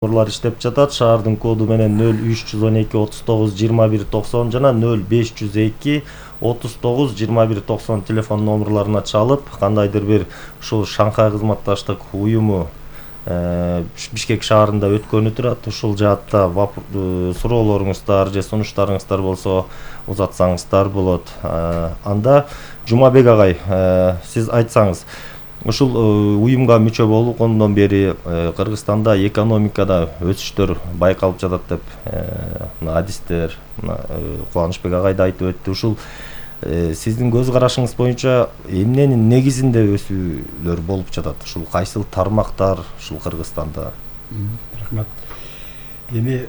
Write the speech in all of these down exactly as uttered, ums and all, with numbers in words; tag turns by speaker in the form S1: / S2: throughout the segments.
S1: Номерлар иштеп жатат. Шаардын коду менен нөл үч жүз он эки отуз тогуз жыйырма бир токсон жана нөл беш жүз эки отуз тогуз жыйырма бир токсон телефон номерларына чалып, кандайдыр бир ушул Шанхай кызматташтык уюму Бишкек шаарында өткөнү турат. Ушул жаатта суроолоруңуздар же сунуштарыңыздар болсо узатсаңыздар болот. Анда Жумабек агай, сиз айтсаңыз, ушул уюмга мүчө болгондон бери Кыргызстанда экономикада өсүштөр байкалып жатат деп адистер Кубанычбек агай да айтып өттү. Ушул сиздин көз карашыңыз боюнча эмненин негизинде өсүүлөр болуп жатат? Ушул кайсыл тармактар ушул Кыргызстанда?
S2: Рахмат. Эми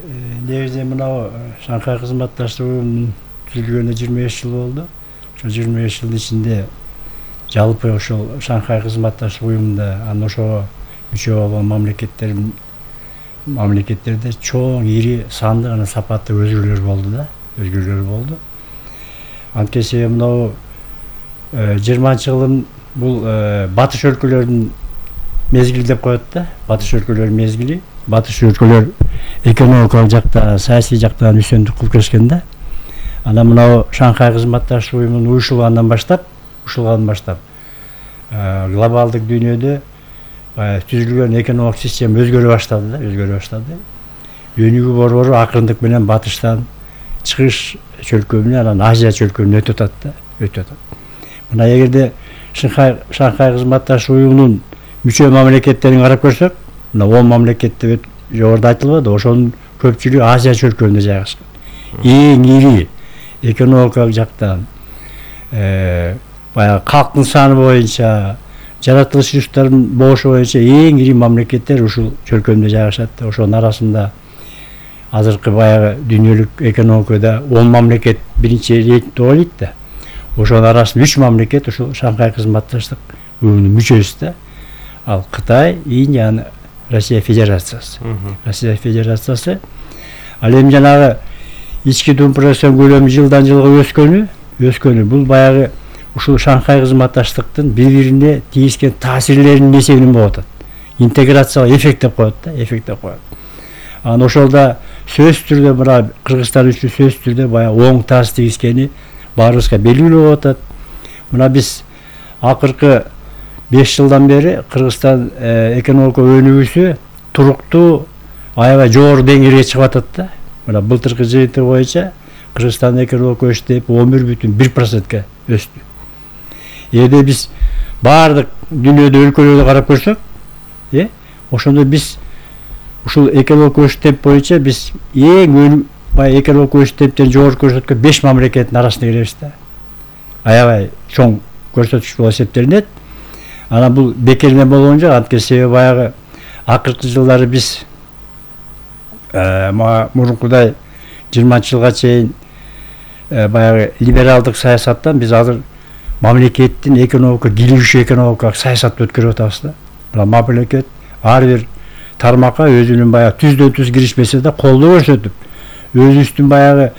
S2: негизинен мына Шанхай кызматташтык уюмунун түзүлгөнүнө жыйырма беш жыл болду. Ошол жыйырма беш жылдын ичинде жалпы ошол Шанхай кызматташтык уюмунда анан ошого мүчө болгон мамлекеттер мамлекеттерде чоң, ири, сандык жана сапаттуу өзгөрүүлөр болду да, өзгөрүүлөр болду. Анткени мынау жыйырманчы жылдын бул батыш өлкөлөрүнүн мезгили деп коет да, батыш өлкөлөрүнүн мезгили. Батыш өлкөлөр экономикалык жакта, саясий жактан үстөндүк кылып келишкен да. Анан мынау Шанхай кызматташтык уюмунун уюшулгандан баштап, ушулгандан баштап глобалдык дүйнөдө түзүлгөн экономикалык система өзгөрө баштады да, өзгөрө баштады. Өнүгүү борбору акырындык менен батыштан чыгыш чөлкөмүнө, анан Азия чөлкөмүнө өтүп атат да, өтүп атат. Мына эгерде Шанхай Шанхай кызматташтык уюмунун мүчө мамлекеттерин карап көрсөк, мына он мамлекет деп жогоруда айтылбады, ошонун көпчүлүгү Азия чөлкөмүндө жайгашкан. Эң ири экономикалык жактан баягы калктын саны боюнча, жаратылыш ресурстарынын болушу боюнча эң ири мамлекеттер ушул чөлкөмдө жайгашат. Ошонун арасында азыркы баягы дүйнөлүк экономикада он мамлекет биринчи рейтингде ойлойт да. Ошонун арасында үч мамлекет ушул Шанхай кызматташтык уюмунун мүчөсү да. Ал Кытай, Индия, жана Россия Федерациясы. Россия Федерациясы. Ал эми жанагы ички dumпресион көлөмү жылдан жылга өскөнү, өскөнү бул баягы ушул Шанхай кызматташтыктын бири-бирине тийишкен таасирлеринин эсебинен болуп атат. Интеграциялык эффект деп коет да, эффект деп коет. Анан ошолда сөзсүз түрдө мына Кыргызстан үчүн сөзсүз түрдө баягы оң таасир тийишкени баарыбызга белгилүү болуп атат. Мына биз акыркы беш жылдан бери Кыргызстан экономика өнүгүүсү туруктуу, аябай жогору деңгээлге чыгып атат да. Мына былтыркы жыйынтык боюнча Кыргызстандын экономика өсүш темпи он бир бүтүн бир процентке өстү. Эгерде биз баардык дүйнөдө өлкөлөрдү карап көрсөк, э, ошондо биз ушул экономика өсүш темпи боюнча биз эң баягы экономика өсүш темптерин жогору көрсөткөн беш мамлекеттин арасына киребиз да. Аябай чоң көрсөткүч болуп эсептелинет. Анан бул бекер эме болгон жок, анткени себеби баягы акыркы жылдары биз мурункудай жыйырманчы жылга чейин баягы либералдык саясаттан биз азыр мамлекеттин экономика кийлигишүү экономикалык саясатты өткөрүп атабыз да. Мына мамлекет ар бир тармакка өзүнүн баягы түздөн түз киришмесе да колдоо көрсөтүп, өзүбүздүн баягы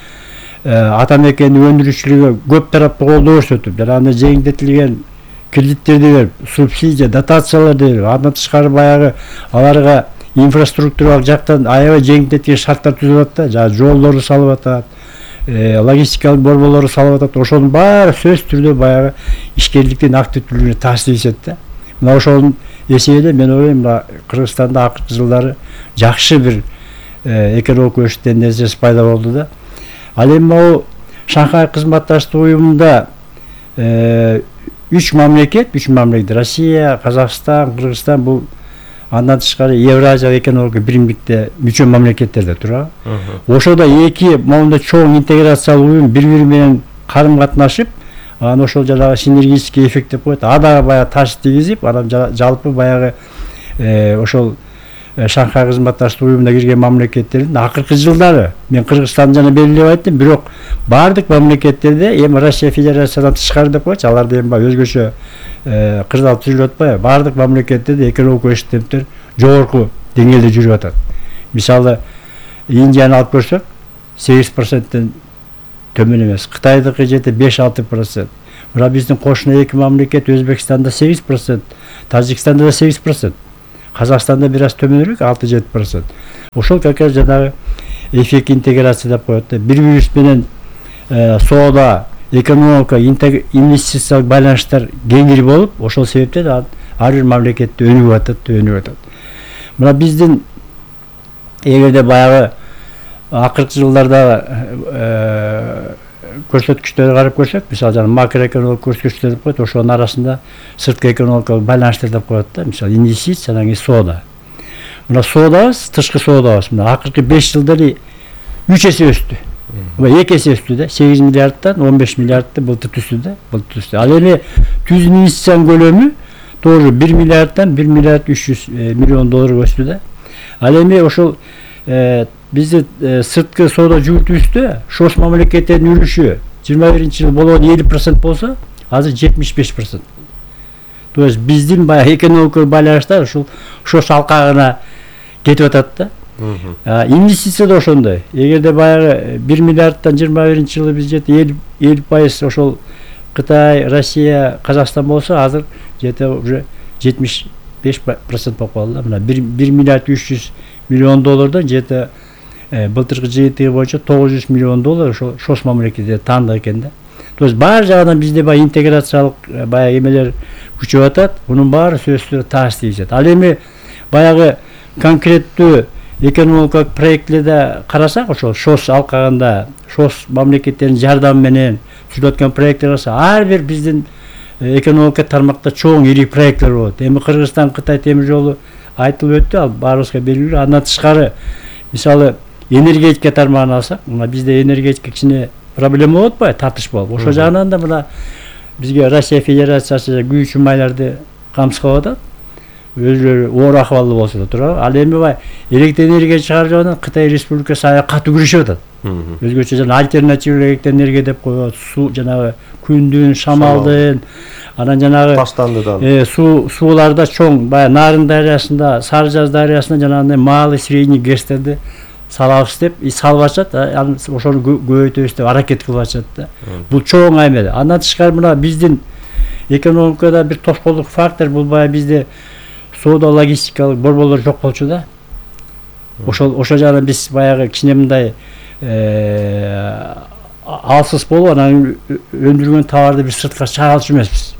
S2: ата мекендин өндүрүшчүлүгү көп тараптуу колдоо көрсөтүп, жана аны жеңилдетилген кредиттерди берип, субсидия, дотацияларды берип, андан тышкары баягы аларга инфраструктуралык жактан аябай жеңилдеткен шарттар түзүп атат да, жана жолдорду салып атат, логистикалык борборлорду салып атат. Ошонун баары сөзсүз түрдө баягы ишкерликтин активдүүлүгүнө таасир этет да. Мына ошонун эсебинен мен ойлойм, мына Кыргызстанда акыркы жылдары жакшы бир экономика өсүш тенденциясы пайда болду да. Ал эми могу Шанхай кызматташтык уюмунда үч мамлекет, үч мамлекет Россия, Казакстан, Кыргызстан бул андан тышкары Евразиялык экономика биримдикте мүчө мамлекеттерде турат. Ошондо эки моунда чоң интеграциялык уюм бири-бири менен карым катнашып, анан ошол жанагы синергический эффект деп коет. Ада баягы таасир тийгизип, анан жалпы баягы ошол Шанхай кызматташтык уюмуна кирген мамлекеттердин акыркы жылдары мен Кыргызстанды жана белгилеп айттым, бирок баардык мамлекеттерде эми Россия Федерациясынан тышкары деп коечу, аларды эми баягы өзгөчө кырдаал түзүлүп атпайбы? Баардык мамлекеттерде экономика өсүш темптер жогорку деңгээлде жүрүп атат. Мисалы Индияны алып көрсөк, сегиз проценттен төмөн эмес. Кытайдыкы жети беш алты процент. Мына биздин кошуна эки мамлекет Өзбекстанда сегиз процент, Тажикстанда да сегиз процент. Казакстанда бир аз төмөнүрөөк алты жети процент. Ошол как раз жанагы эффект интеграция деп коет да. Бири-бирибиз менен соода, экономика, инвестициялык байланыштар кеңири болуп, ошол себептен ар бир мамлекетте өнүгүп атат, өнүгүп атат. Мына биздин эгерде баягы акыркы жылдарда көрсөткүчтөргө карап көрсөк, мисалы жана макроэкономикалык көрсөткүчтөр деп коет, ошонун арасында сырткы экономикалык байланыштар деп коет да, мисалы инвестиция, анан кийин соода. Мына соодабыз, тышкы соодабыз мына акыркы беш жылда эле үч эсе өстү. эки эсе өстү да, сегиз миллиардтан он беш миллиардты былтыр түстү да, былтыр түстү. Ал эми түз инвестициянын көлөмү тоже бир миллиардтан бир миллиард үч жүз миллион долларга өстү да. Ал эми ошол бизди сырткы соода жүгүртүүбүздө шос мамлекеттердин үлүшү жыйырма биринчи жыл болгон элүү процент болсо, азыр жетимиш беш процент. То есть биздин баягы экономикалык байланыштар ушул шос алкагына кетип атат да. Инвестиция да ошондой. Эгерде баягы бир миллиардтан жыйырма биринчи жылы биз жети элүү пайыз ошол Кытай, Россия, Казакстан болсо, азыр жете уже жетимиш беш процент болуп калды да. Мына бир миллиард үч жүз миллион доллардан жете былтыркы жыйынтыгы боюнча тогуз жүз миллион доллар ошол шос мамлекетте таандык экен да. То есть баары жагынан бизде баягы интеграциялык баягы эмелер күчөп атат. Мунун баары сөзсүз тааш тийишет. Ал эми баягы конкреттүү экономикалык проектлерде карасак, ошол шос алкагында шос мамлекеттердин жардамы менен түзүлүп аткан проекттер болсо, ар бир биздин экономика тармакта чоң ири проекттер болот. Эми Кыргызстан Кытай темир жолу айтылып өттү, ал баарыбызга белгилүү. Андан тышкары мисалы энергетика тармагын алсак, мына бизде энергетика кичине проблема болуп атпайбы, тартыш болуп. Ошол жагынан да мына бизге Россия Федерациясы күйүүчү майларды камсыздап атат. Өзлөрү оор акыбалда болсо да турабы. Ал эми бай электр энергия чыгаруу жагынан Кытай Республикасы аябай катуу күрөшүп атат. Өзгөчө жана альтернативдүү электр энергия деп коет, суу жанагы күндүн, шамалдын, анан жанагы
S3: таштандыдан
S2: суу сууларда чоң баягы Нарын дарыясында, Сары Жаз дарыясында жанагындай малый, средний гэстерди салабыз деп, салып атышат, анан ошону көбөйтөбүз деп аракет кылып атышат да. Бул чоң айме. Андан тышкары мына биздин экономикада бир тоскоолдук фактор, бул баягы бизде соода логистикалык борборлор жок болчу да. Ошол ошол жагынан биз баягы кичине мындай алсыз болуп, анан өндүргөн товарды бир сыртка чыгара алчу эмеспиз.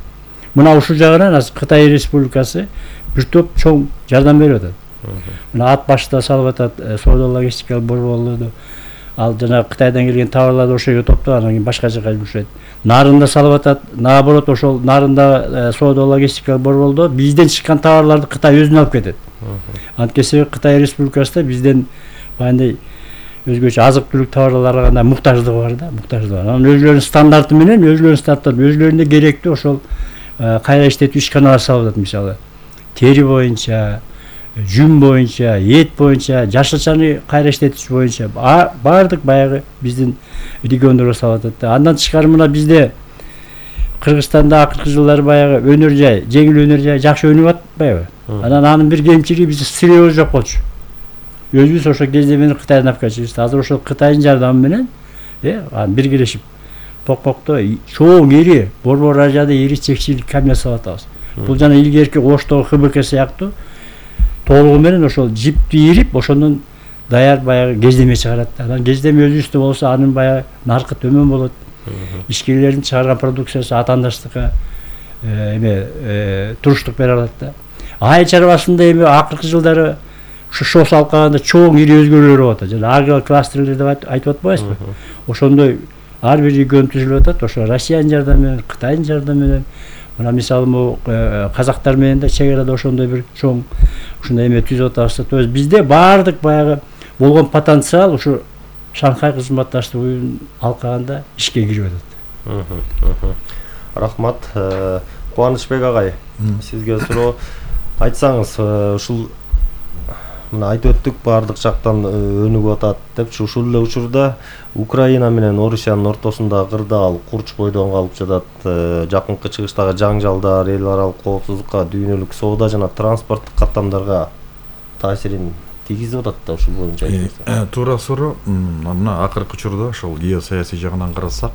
S2: Мына ушул жагынан азыр Кытай Республикасы бир топ чоң жардам берип атат. Мына ат башта салып атат соода логистикалык борборлорду. Ал жана Кытайдан келген товарларды ошол жерге топтоп, анан кийин башка жака жүргүзөт. Нарында салып атат. Наоборот, ошол нарында соода логистикалык борбордо бизден чыккан товарларды Кытай өзүнө алып кетет. Анткени Кытай Республикасында бизден баягындай өзгөчө азык түлүк товарларга гана муктаждыгы бар да, муктаждыгы бар. Анан өзлөрүнүн стандарты менен, өзлөрүнүн стандарты, өзлөрүнө керектүү ошол кайра иштетүү ишканалар салып атат, мисалы. Тери боюнча, жүн боюнча, эт боюнча, жашылчаны кайра иштетиш боюнча баардык баягы биздин региондорго салып атат да. Андан тышкары мына бизде Кыргызстанда акыркы жылдары баягы өнөр жай, жеңил өнөр жай жакшы өнүгүп атпайбы? Анан анын бир кемчилиги бизде сырьёбуз жок болчу. Өзүбүз ошол кезде менен Кытайдан алып келчүбүз. Азыр ошол Кытайдын жардамы менен э биргелешип Токмокто чоң ири борбор ажада ири чекчилик камера салып атабыз. Бул жана илгерки Оштогу Х Б К сыяктуу толугу менен ошол жипти ирип, ошондон даяр баягы кездеме чыгарат. Анан кездеме өзүбүздө болсо, анын баягы наркы төмөн болот. Ишкерлердин чыгарган продукциясы атаандаштыкка эме туруштук бере алат да. Айыл чарбасында эми акыркы жылдары ушу шос алкагында чоң ири өзгөрүүлөр болуп атат. Жана агрокластерлер деп айтып атпайбызбы? Ошондой ар бир регион түзүлүп атат. Ошо Россиянын жардамы менен, Кытайдын жардамы менен. Мына мисалы могу казактар менен да чек арада ошондой бир чоң ушундай эме түзүп атабыз. То есть бизде баардык баягы болгон потенциал ушу Шанхай кызматташтык уюмунун алкагында ишке кирип атат.
S1: Рахмат. Кубанычбек агай, сизге суроо айтсаңыз, ушул мына айтып өттүк, баардык жактан өнүгүп атат депчи, ушул эле учурда Украина менен Орусиянын ортосунда кырдаал курч бойдон калып жатат. Жакынкы чыгыштагы жаңжалдар эл аралык коопсуздукка, дүйнөлүк соода жана транспорттук каттамдарга таасирин тийгизип атат да, ушул боюнча айтсаңыз.
S4: Туура суроо. Мына акыркы учурда ошол геосаясий жагынан карасак,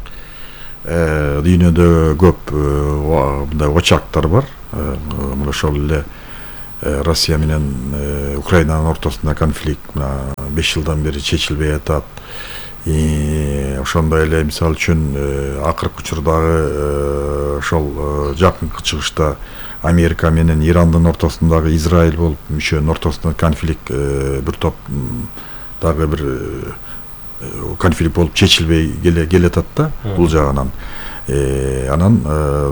S4: дүйнөдө көп мындай очактар бар. Мына ошол эле Россия менен Украинанын ортосунда конфликт мына беш жылдан бери чечилбей атат. Ошондой эле мисалы үчүн акыркы учурдагы ошол жакынкы чыгышта Америка менен Ирандын ортосундагы Израиль болуп мүчөнүн ортосунда конфликт бир топ дагы бир конфликт болуп чечилбей келе атат да бул жагынан. Анан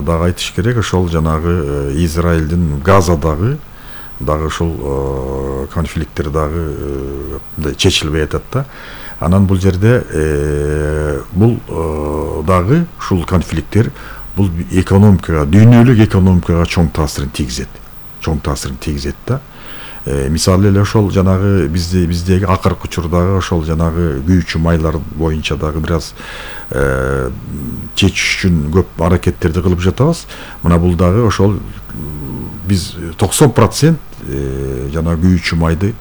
S4: дагы айтыш керек, ошол жанагы Израилдин Газадагы дагы ушул конфликттер дагы чечилбей атат да. Анан бул жерде бул дагы ушул конфликттер бул экономикага, дүйнөлүк экономикага чоң таасирин тийгизет. Чоң таасирин тийгизет да. Мисалы эле ошол жанагы бизде биздеги акыркы учурдагы ошол жанагы күйүүчү майлар боюнча дагы бир аз чечиш үчүн көп аракеттерди кылып жатабыз. Мына бул дагы ошол биз токсон процент жана күйүүчү майды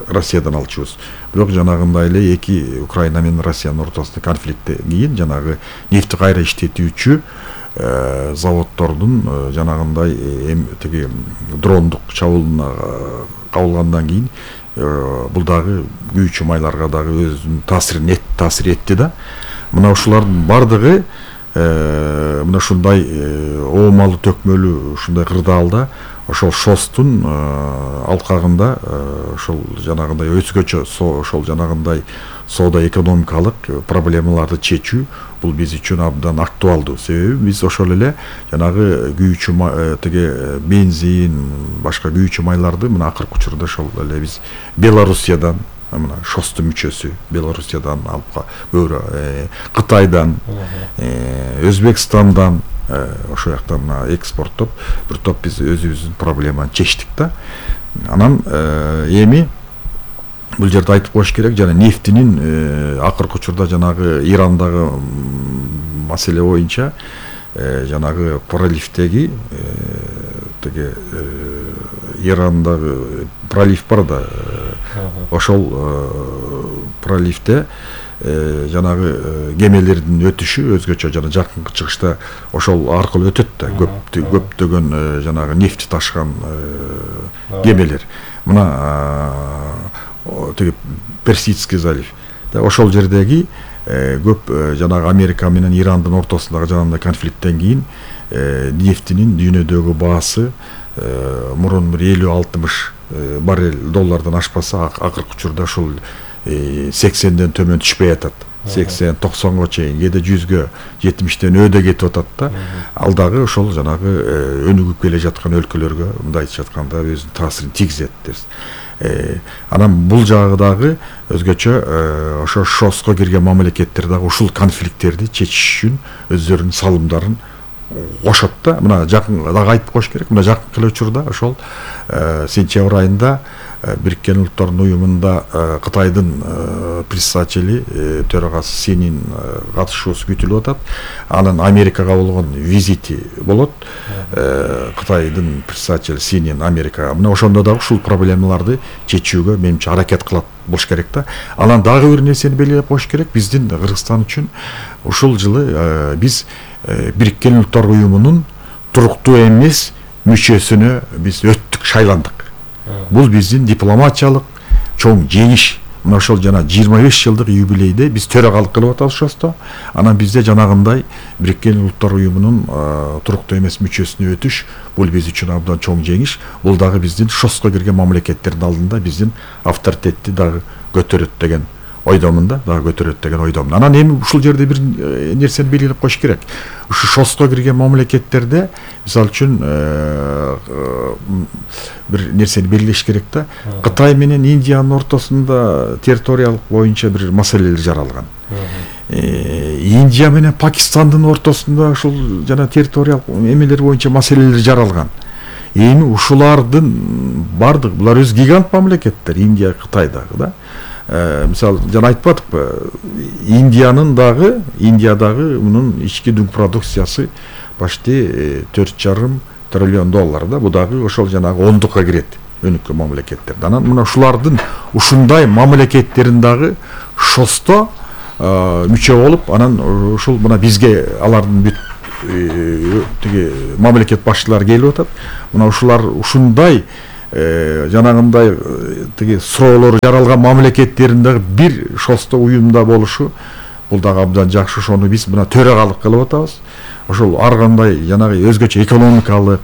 S4: Россиядан алчубуз. Бирок жанагындай эле эки Украина менен Россиянын ортосунда конфликттен кийин жанагы нефти кайра иштетүүчү заводдордун жанагындай тиги дрондук чабуулуна кабылгандан кийин бул дагы күйүүчү майларга дагы өзүнүн таасирин таасир этти да. Мына ушулардын бардыгы мына ушундай оомалуу төкмөлүү ушундай кырдаалда ошол шостун алкагында ошол жанагындай өзгөчө ошол жанагындай соода экономикалык проблемаларды чечүү бул биз үчүн абдан актуалдуу. Себеби биз ошол эле жанагы күйүүчү тиги бензин, башка күйүүчү майларды мына акыркы учурда ошол эле биз Белоруссиядан, мына шостун мүчөсү Белоруссиядан алып, көбүрөөк Кытайдан, Өзбекстандан ошол жактан мына экспорттоп бир топ биз өзүбүздүн проблеманы чечтик да. Анан эми бул жерде айтып коюш керек, жана нефтинин акыркы учурда жанагы Ирандагы маселе боюнча жанагы проливдеги тиги Ирандагы пролив бар да, ошол проливде жанагы кемелердин өтүшү өзгөчө жана жакынкы чыгышта ошол аркылуу өтөт да, көп көптөгөн жанагы нефти ташыган кемелер. Мына тиги Персидский залив. Ошол жердеги көп жанагы Америка менен Ирандын ортосундагы жанагындай конфликттен кийин нефтинин дүйнөдөгү баасы мурун бир элүү алтымыш баррель доллардан ашпаса, акыркы учурда ушул сексенден төмөн түшпөй атат. сексен токсонго чейин, кээде жүзгө, жетимиштен өйдө кетип атат да. Ал дагы ошол жанагы өнүгүп келе жаткан өлкөлөргө мындай айтып жатканда өзүнүн таасирин тийгизет дебиз. Анан бул жагы дагы өзгөчө ошо шоско кирген мамлекеттер дагы ушул конфликттерди чечиш үчүн өздөрүнүн салымдарын кошот да. Мына жакын дагы айтып коюш керек, мына жакынкы эле учурда ошол сентябрь айында Бириккен Улуттардын уюмунда Кытайдын председатели төрагасы Синин катышуусу күтүлүп атат. Анын Америкага болгон визити болот. Кытайдын председатели Синин Америкага. Мына ошондо дагы ушул проблемаларды чечүүгө менимче аракет кылат болуш керек да. Анан дагы бир нерсени белгилеп коюш керек. Биздин Кыргызстан үчүн ушул жылы биз Бириккен Улуттар уюмунун туруктуу эмес мүчөсүнө биз өттүк, шайландык. Бул биздин дипломатиялык чоң жеңиш. Мына ошол жана жыйырма беш жылдык юбилейде биз төрагалык кылып атабыз шосто. Анан бизде жанагындай Бириккен Улуттар уюмунун туруктуу эмес мүчөсүнө өтүш бул биз үчүн абдан чоң жеңиш. Бул дагы биздин шоско кирген мамлекеттердин алдында биздин авторитетти дагы көтөрөт деген ойдомун да, дагы көтөрөт деген ойдомун. Анан эми ушул жерде бир нерсени белгилеп коюш керек. Ушу шоско кирген мамлекеттерде мисалы үчүн бир нерсени белгилеш керек да. Кытай менен Индиянын ортосунда территориялык боюнча бир маселелер жаралган. Индия менен Пакистандын ортосунда ушул жана территориялык эмелер боюнча маселелер жаралган. Эми ушулардын бардык, булар өз гигант мамлекеттер, Индия, Кытай дагы да. Мисалы жана айтып атыппы, Индиянын дагы, Индиядагы мунун ички дүң продукциясы почти төрт жарым триллион доллар да. Бу дагы ошол жанагы ондукка кирет өнүккөн мамлекеттерден. Анан мына ушулардын ушундай мамлекеттерин дагы шосто мүчө болуп, анан ушул мына бизге алардын бүт тиги мамлекет башчылары келип атат. Мына ушулар ушундай жанагындай тиги суроолор жаралган мамлекеттердин дагы бир шосто уюмда болушу бул дагы абдан жакшы. Ошону биз мына төрагалык кылып атабыз. Ошол ар кандай жанагы өзгөчө экономикалык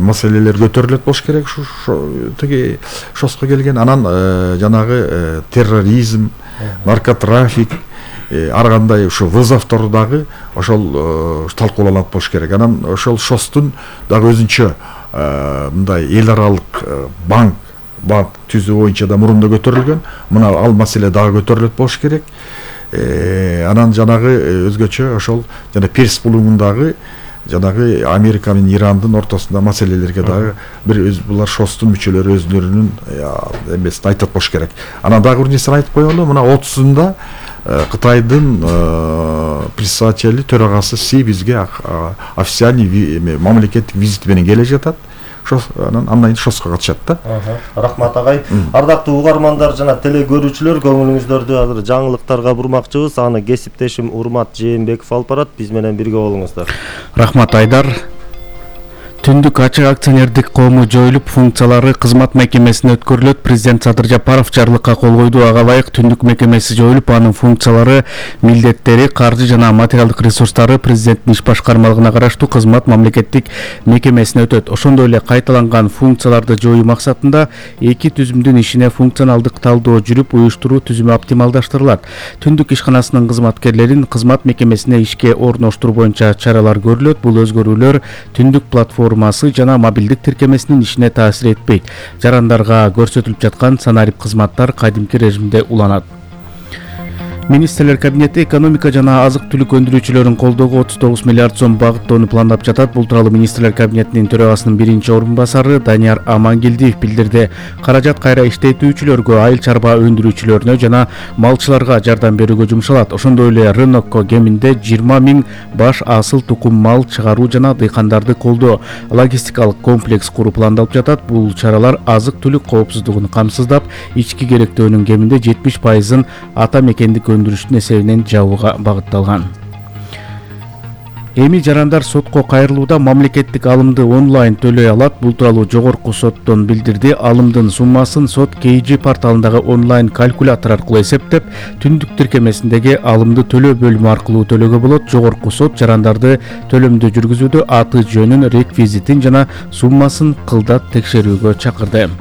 S4: маселелер көтөрүлөт болуш керек ушу тиги шоско келген. Анан жанагы терроризм, наркотрафик, ар кандай ушу вызовдор дагы ошол талкууланат болуш керек. Анан ошол шостун дагы өзүнчө мындай эл аралык банк банк түзүү боюнча да мурунда көтөрүлгөн. Мына ал маселе дагы көтөрүлөт болуш керек. Анан жанагы өзгөчө ошол жана Перс булугундагы жанагы Америка менен Ирандын ортосунда маселелерге дагы бир өз булар шостун мүчөлөрү өзлөрүнүн эмесин айтат болуш керек. Анан дагы бир нерсени айтып коелу. Мына отузунда Кытайдын председатели төрагасы Си бизге официальный мамлекеттик визит менен келе жатат. Анан андан шоско катышат да.
S1: Рахмат агай. Ардактуу угармандар жана теле көрүүчүлөр, көңүлүңүздөрдү азыр жаңылыктарга бурмакчыбыз. Аны кесиптешим Урмат Жээнбеков алып барат. Биз менен бирге болуңуздар.
S3: Рахмат Айдар. Түндүк ачык акционердик коому жоюлуп, функциялары кызмат мекемесине өткөрүлөт. Президент Садыр Жапаров жарлыкка кол койду. Ага ылайык түндүк мекемеси жоюлуп, анын функциялары, милдеттери, каржы жана материалдык ресурстары президенттин иш башкармалыгына караштуу кызмат мамлекеттик мекемесине өтөт. Ошондой эле кайталанган функцияларды жоюу максатында эки түзүмдүн ишине функционалдык талдоо жүрүп, уюштуруу түзүмү оптималдаштырылат. Түндүк ишканасынын кызматкерлерин кызмат мекемесине ишке орноштуруу боюнча чаралар көрүлөт. Бул өзгөрүүлөр түндүк платформа жана мобилдик тиркемесинин ишине таасир этпейт. Жарандарга көрсөтүлүп жаткан санарип кызматтар кадимки режимде уланат. Министрлер кабинети экономика жана азык-түлүк өндүрүүчүлөрүн колдоого отуз тогуз миллиард сом багыттоону пландап жатат. Бул тууралуу Министрлер кабинетинин төрагасынын биринчи орун басары Данияр Амангелдиев билдирди. Каражат кайра иштетүүчүлөргө, айыл чарба өндүрүүчүлөрүнө жана малчыларга жардам берүүгө жумшалат. Ошондой эле рынокко кеминде жыйырма миң баш асыл тукум мал чыгаруу жана дыйкандарды колдоо, логистикалык комплекс куруу пландалып жатат. Бул чаралар азык-түлүк коопсуздугун камсыздап, ички керектөөнүн кеминде жетимиш пайызын ата мекендик өндүрүштүн эсебинен жабууга багытталган. Эми жарандар сотко кайрылууда мамлекеттик алымды онлайн төлөй алат. Бул тууралуу жогорку соттон билдирди. Алымдын суммасын сот кей джи порталындагы онлайн калькулятор аркылуу эсептеп, түндүк тиркемесиндеги алымды төлөө бөлүмү аркылуу төлөөгө болот. Жогорку сот жарандарды төлөмдү жүргүзүүдө аты жөнүн, реквизитин жана суммасын кылдат текшерүүгө чакырды.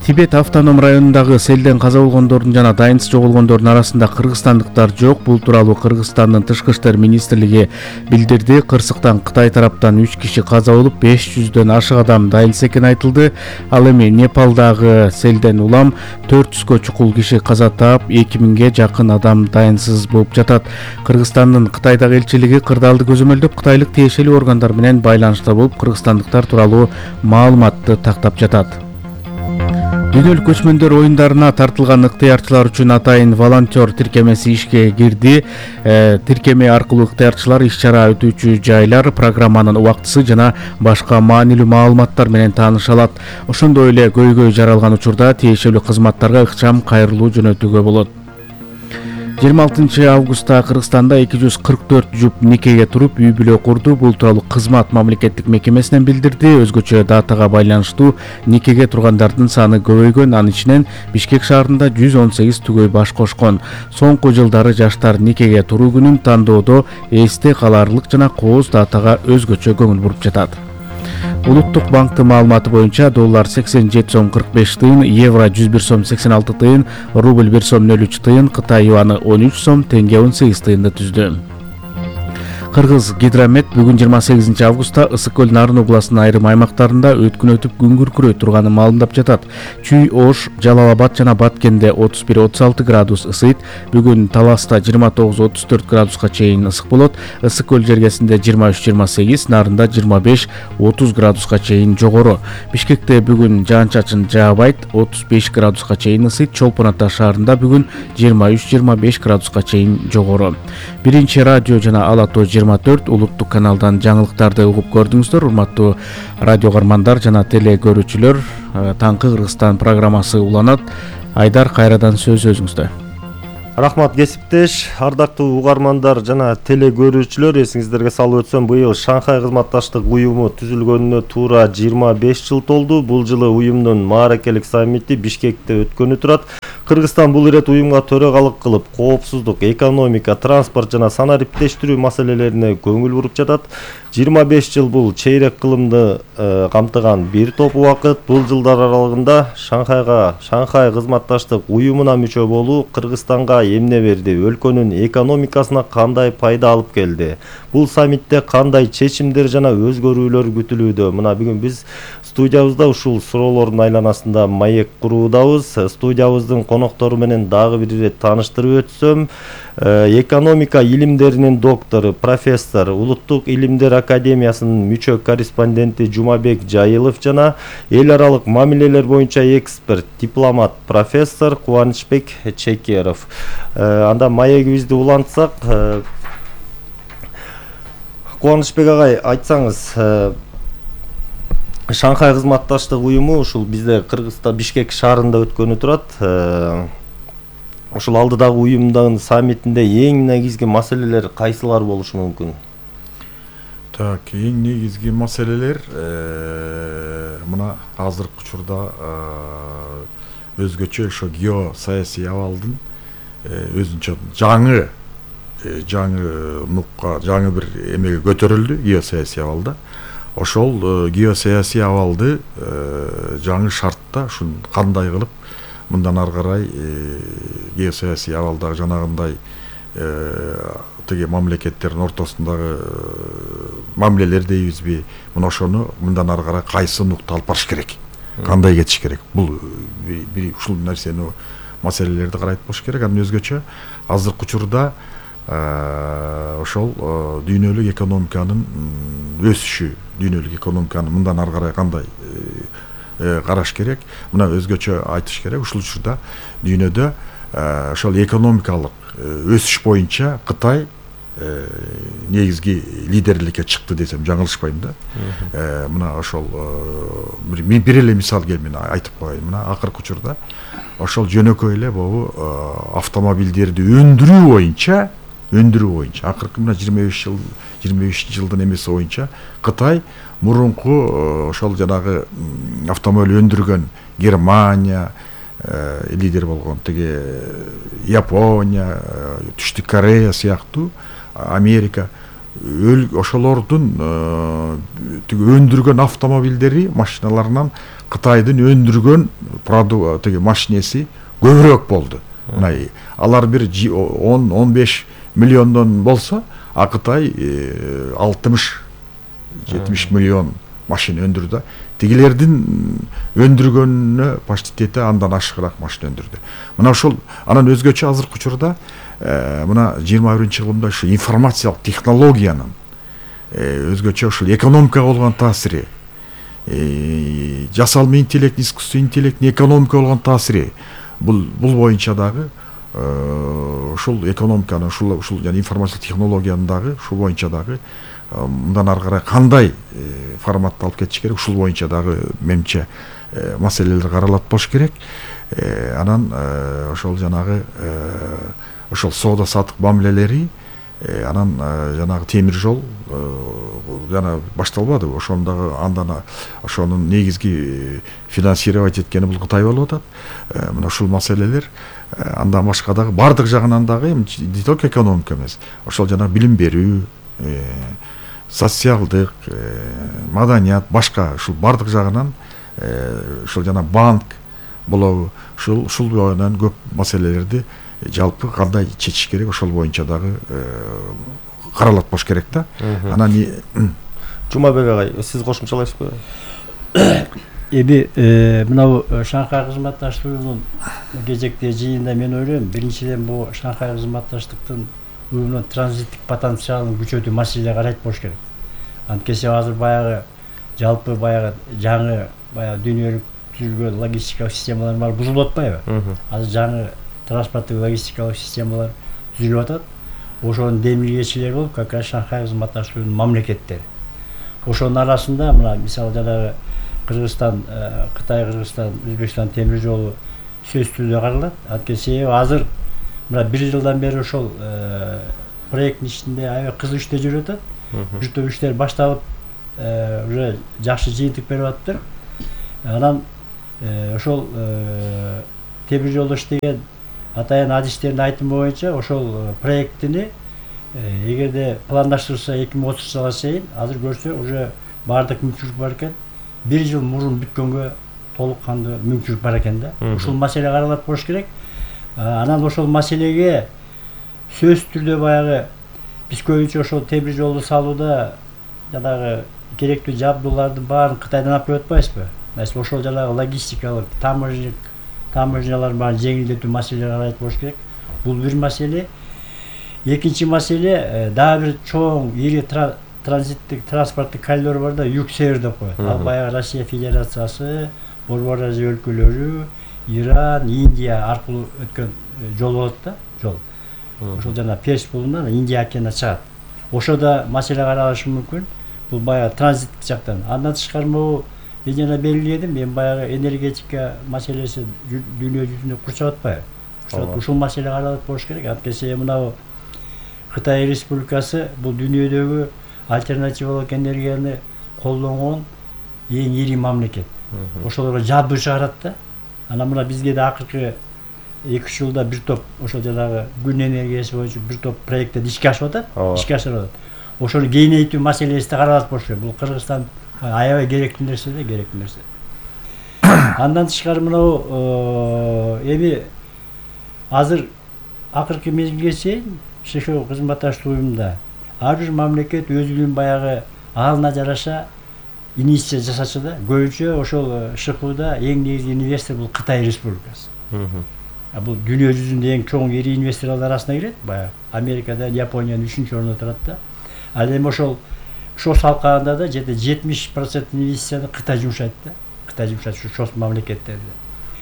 S3: Тибет автоном районундагы селден каза болгондордун жана дайынсыз жоголгондордун арасында кыргызстандыктар жок. Бул тууралуу Кыргызстандын тышкы иштер министрлиги билдирди. Кырсыктан Кытай тараптан үч киши каза болуп, беш жүздөн ашык адам дайынсыз экени айтылды. Ал эми Непалдагы селден улам төрт жүзгө чукул киши каза таап, эки миңге жакын адам дайынсыз болуп жатат. Кыргызстандын Кытайдагы элчилиги кырдаалды көзөмөлдөп, кытайлык тиешелүү органдар менен байланышта болуп, кыргызстандыктар тууралуу маалыматты тактап жатат. Дүйнөлүк көчмөндөр оюндарына тартылган ыктыярчылар үчүн атайын волонтер тиркемеси ишке кирди. Э, тиркеме аркылуу ыктыярчылар иш-чара өтүүчү жайлар, программанын убактысы жана башка маанилүү маалыматтар менен тааныша алат. Ошондой эле көйгөй жаралган учурда тиешелүү кызматтарга ыкчам кайрылуу жөнөтүүгө болот. жыйырма алтынчы августта Кыргызстанда эки жүз кырк төрт жуп никеге туруп үй бүлө курду. Бул тууралуу кызмат мамлекеттик мекемесинен билдирди. Өзгөчө датага байланыштуу никеге тургандардын саны көбөйгөн. Анын ичинен Бишкек шаарында жүз он сегиз түгөй баш кошкон. Соңку жылдары жаштар никеге туруу күнүн тандоодо эсте калаарлык жана кооз датага өзгөчө көңүл буруп жатат. Улуттук банктын маалыматы боюнча доллар сексен жети сом кырк беш тыйын, евро жүз бир сом сексен алты тыйын, рубль бир сом нөл үч тыйын, Кытай юаны он үч сом, тенге он сегиз тыйынды түздү. Кыргыз гидромет бүгүн жыйырма сегизинчи августта Ысык көл Нарын областынын айрым аймактарында өткүн өтүп күн күркүрөй турганын маалымдап жатат. Чүй, Ош, Жалал Абад жана Баткенде отуз бир отуз алты градус ысыйт. Бүгүн Таласта жыйырма тогуз отуз төрт градуска чейин ысык болот. Ысык көл жергесинде жыйырма үч жыйырма сегиз, Нарында жыйырма беш отуз градуска чейин жогору. Бишкекте бүгүн жаан-чачын жаабайт, отуз беш градуска чейин ысыйт. Чолпон Ата шаарында бүгүн жыйырма үч жыйырма беш градуска чейин жогору. Биринчи радио жана Ала Тоо жыйырма төрт улуттук каналдан жаңылыктарды угуп көрдүңүздөр. Урматтуу радио каармандар жана теле көрүүчүлөр, таңкы Кыргызстан программасы уланат. Айдар, кайрадан сөз өзүңүздө.
S1: Рахмат кесиптеш, ардактуу угармандар жана теле көрүүчүлөр, эсиңиздерге салып өтсөм, быйыл Шанхай кызматташтык уюму түзүлгөнүнө туура жыйырма беш жыл толду. Бул жылы уюмдун мааракелик саммити Бишкекте өткөнү турат. Кыргызстан бул ирет уюмга төрагалык кылып, коопсуздук, экономика, транспорт жана санариптештирүү маселелерине көңүл буруп жатат. жыйырма беш жыл бул чейрек кылымды э, камтыган бир топ убакыт. Бул жылдар аралыгында Шанхайга, Шанхай кызматташтык уюмуна мүчө болуу Кыргызстанга эмне берди? Өлкөнүн экономикасына кандай пайда алып келди? Бул саммитте кандай чечимдер жана өзгөрүүлөр күтүлүүдө? Мына бүгүн биз студиябызда ушул суроолордун айланасында маек куруудабыз. Студиябыздын коноктору менен дагы бир ирет тааныштырып өтсөм, экономика илимдеринин доктору, профессор, Улуттук илимдер академиясынын мүчө корреспонденти Жумабек Жайылов жана эл аралык мамилелер боюнча эксперт, дипломат, профессор Кубанычбек Чекеров. Анда маегибизди улантсак, Кубанычбек агай, айтсаңыз, Шанхай кызматташтык уюму ушул бизде Кыргызстан Бишкек шаарында өткөнү турат. Ушул алдыдагы уюмдун саммитинде эң негизги маселелер кайсылар болушу мүмкүн?
S4: Так, эң негизги маселелер мына азыркы учурда өзгөчө ошо геосаясий абалдын өзүнчө жаңы жаңы нукка, жаңы бир эмеге көтөрүлдү геосаясий абалда. Ошол геосаясий абалды жаңы шартта ушун кандай кылып мындан ары карай геосаясий абалдагы жанагындай тиги мамлекеттердин ортосундагы мамилелер дейбизби, мына ошону мындан ары карай кайсы нукта алып барыш керек, кандай кетиш керек? Бул бир ушул нерсени, маселелерди карайт болуш керек. Анан өзгөчө азыркы учурда ошол дүйнөлүк экономиканын өсүшү, дүйнөлүк экономиканы мындан ары карай кандай караш керек? Мына өзгөчө айтыш керек. Ушул учурда дүйнөдө ошол экономикалык өсүш боюнча Кытай негизги лидерликке чыкты десем жаңылышпайм да. Мына ошол бир эле мисал келип мен айтып коеюн. Мына акыркы учурда ошол жөнөкөй эле могу автомобилдерди өндүрүү боюнча өндүрүү боюнча акыркы мына жыйырма беш жыл жыйырма беш жылдын эмеси боюнча Кытай мурунку ошол жанагы автомобиль өндүргөн Германия лидер болгон, тиги Япония, Түштүк Корея сыяктуу, Америка ошолордун тиги өндүргөн автомобилдери, машиналарынан Кытайдын өндүргөн продукт тиги машинеси көбүрөөк болду. Мына алар бир он он беш миллиондон болсо, а Кытай алтымыш жетимиш миллион машина өндүрдү. Тигилердин өндүргөнүнө почти тете андан ашыгыраак машина өндүрдү. Мына ошол анан өзгөчө азыркы учурда мына жыйырма биринчи кылымда ушу информациялык технологиянын өзгөчө ушул экономикага болгон таасири, жасалма интеллект, искусственный интеллект, экономикага болгон таасири, бул бул боюнча дагы ушул экономиканы, ушул ушул жана информациялык технологияны дагы ушул боюнча дагы мындан ары карай кандай форматта алып кетиш керек, ушул боюнча дагы менимче маселелер каралат болуш керек. Анан ошол жанагы ошол соода саттык мамилелери, анан жанагы темир жол жана башталбады. Ошондагы андан ошонун негизги финансировать эткени бул Кытай болуп атат. Мына ушул маселелер андан башка дагы бардык жагынан дагы не только экономика эмес, ошол жана билим берүү, социалдык, маданият, башка ушул бардык жагынан ушул жана банк болобу, ушул ушул боюнан көп маселелерди жалпы кандай чечиш керек, ошол боюнча дагы каралат болуш керек да. Анан
S1: Жумабек агай, сиз кошумчалайсызбы?
S2: Эми мына Шанхай кызматташтык уюмунун кезекте жыйында мен ойлойм, биринчиден бул Шанхай кызматташтыктын уюмдун транзиттик потенциалын күчөтүү маселеге карайт болуш керек. Анткени азыр баягы жалпы баягы жаңы баягы дүйнөлүк түзүлгөн логистикалык системалар бар, бузулуп атпайбы? Азыр жаңы транспорттук логистикалык системалар түзүлүп атат. Ошонун демилгечилери болуп как раз Шанхай кызматташтык уюмунун мамлекеттери. Ошонун арасында мына мисалы жанагы Кыргызстан, Кытай, Кыргызстан, Өзбекстан темир жолу сөзсүз түрдө каралат. Анткени себеби азыр мына бир жылдан бери ошол проекттин ичинде аябай кызуу иштер жүрүп атат. Бир топ иштер башталып уже жакшы жыйынтык берип атыптыр. Анан ошол темир жолдо иштеген атайын адистердин айтымы боюнча ошол проекттини эгерде пландаштырылса эки миң отузунчу жылга чейин азыр көрсө уже баардык мүмкүнчүлүк бар экен. Бир жыл мурун бүткөнгө толук кандуу мүмкүнчүлүк бар экен да. Ушул маселе каралат болуш керек. Анан ошол маселеге сөзсүз түрдө баягы биз көбүнчө ошол темир жолду салууда жанагы керектүү жабдуулардын баарын Кытайдан алып келип атпайбызбы? Маселен ошол жанагы логистикалык, таможник, таможнялардын баарын жеңилдетүү маселелери каралат болуш керек. Бул бир маселе. Экинчи маселе дагы бир чоң ири транзиттик транспорттук коридор бар да, Юг-Север деп коет. Ал баягы Россия Федерациясы, Борбор Азия өлкөлөрү, Иран, Индия аркылуу өткөн жол болот да, жол. Ошол жана Перс булунан Индия океанына чыгат. Ошодо маселе каралышы мүмкүн. Бул баягы транзиттик жактан. Андан тышкары могу мен жана белгиледим, мен баягы энергетика маселеси дүйнө жүзүндө курчап атпайбы? Ушул маселе каралат болуш керек. Анткени мына Кытай Республикасы бул дүйнөдөгү альтернативалык энергияны колдонгон эң ири мамлекет. Ошолорго жабдуу чыгарат да. Анан мына бизге да акыркы эки үч жылда бир топ ошол жанагы күн энергиясы боюнча бир топ проекттер ишке ашып атат, ишке ашырып атат. Ошону кеңейтүү маселеси да каралат болуш керек. Бул Кыргызстан аябай керектүү нерсе да, керектүү нерсе. Андан тышкары мына эми азыр акыркы мезгилге чейин ШХО кызматташтык уюмунда ар бир мамлекет өзүнүн баягы алына жараша инвестиция жасачу да. Көбүнчө ошол ШХОда эң негизги инвестор бул Кытай Республикасы. Бул дүйнө жүзүндө эң чоң ири инвесторлор арасына кирет. Баягы Америкадан, Япониянын үчүнчү орунда турат да. Ал эми ошол ошол салкагында да жети жетимиш процент инвестицияны Кытай жумшайт да. Кытай жумшайт ошол мамлекеттерде.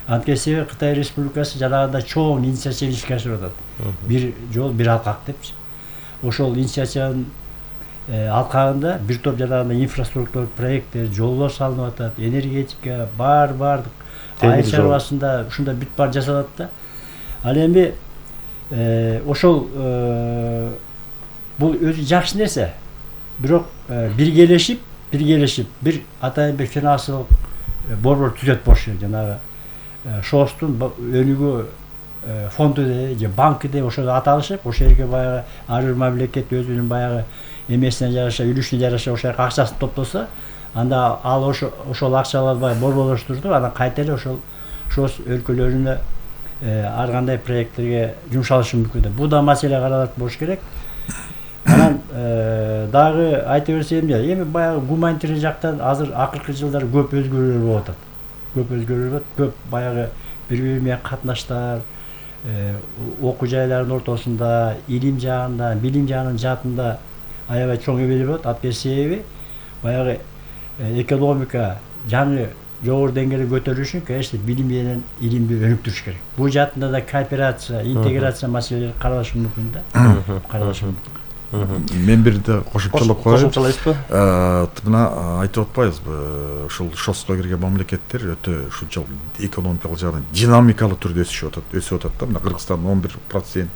S2: Анткени себеби Кытай Республикасы жанагындай чоң инициатива ишке ашырып атат. Бир жол, бир алкак депчи. Ошол инициативанын алкагында бир топ жанагындай инфраструктуралык проекттер, жолдор салынып атат, энергетика, бар бардык айыл чарбасында ушундай бүт бар жасалат да. Ал эми ошол бул өзү жакшы нерсе. Бирок биргелешип, биргелешип бир атайын бир финансылык борбор түзөт болуш керек. Жанагы ШОСтун өнүгүү фонду же банкы деп ошол аталышып, ошол жерге баягы ар бир мамлекет өзүнүн баягы эмесине жараша, үлүшүнө жараша ошол акчасын топтосо, анда ал ошол акчаларды баягы борборлоштурду, анан кайта эле ошол ШОС өлкөлөрүнө ар кандай проекттерге жумшалышы мүмкүн. Бул да маселе каралат болуш керек. Анан дагы айта берсем, эми баягы гуманитарий жактан азыр акыркы жылдары көп өзгөрүүлөр болуп атат. Көп өзгөрүүлөр болот, көп баягы бири-бири менен катнаштар, окуу жайлардын ортосунда, илим жагында, билим жагынын жаатында аябай чоң эбелер болот. Анткени себеби баягы экономика жаңы жогору деңгээлге көтөрүлүш үчүн, конечно, билим менен илимди өнүктүрүш керек. Бул жаатында да кооперация, интеграция маселелери каралышы мүмкүн да. Каралышы мүмкүн.
S4: Мен бир да кошумчалап коеюн.
S1: Кошумчалайсызбы?
S4: Мына айтып атпайбызбы, ушул ШОСко кирген мамлекеттер өтө ушунчалык экономикалык жагынан динамикалуу түрдө өсүшүп атат, өсүп атат да. Мына Кыргызстан он бир процент,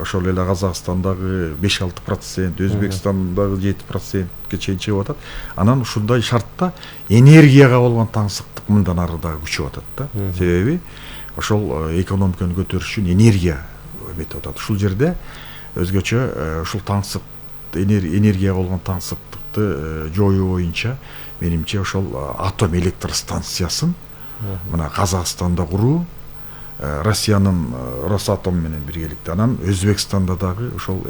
S4: ошол эле Казакстандагы беш алты процент, Өзбекстандагы жети процентке чейин чыгып атат. Анан ушундай шартта энергияга болгон таңсыктык мындан ары дагы күчөп атат да. Себеби ошол экономиканы көтөрүш үчүн энергия эметип атат. Ушул жерде өзгөчө ушул таңсык энергияга болгон таңсыктыкты жоюу боюнча менимче ошол атом электр станциясын мына Казакстанда куруу, Россиянын Росатом менен биргеликте, анан Өзбекстанда дагы ошол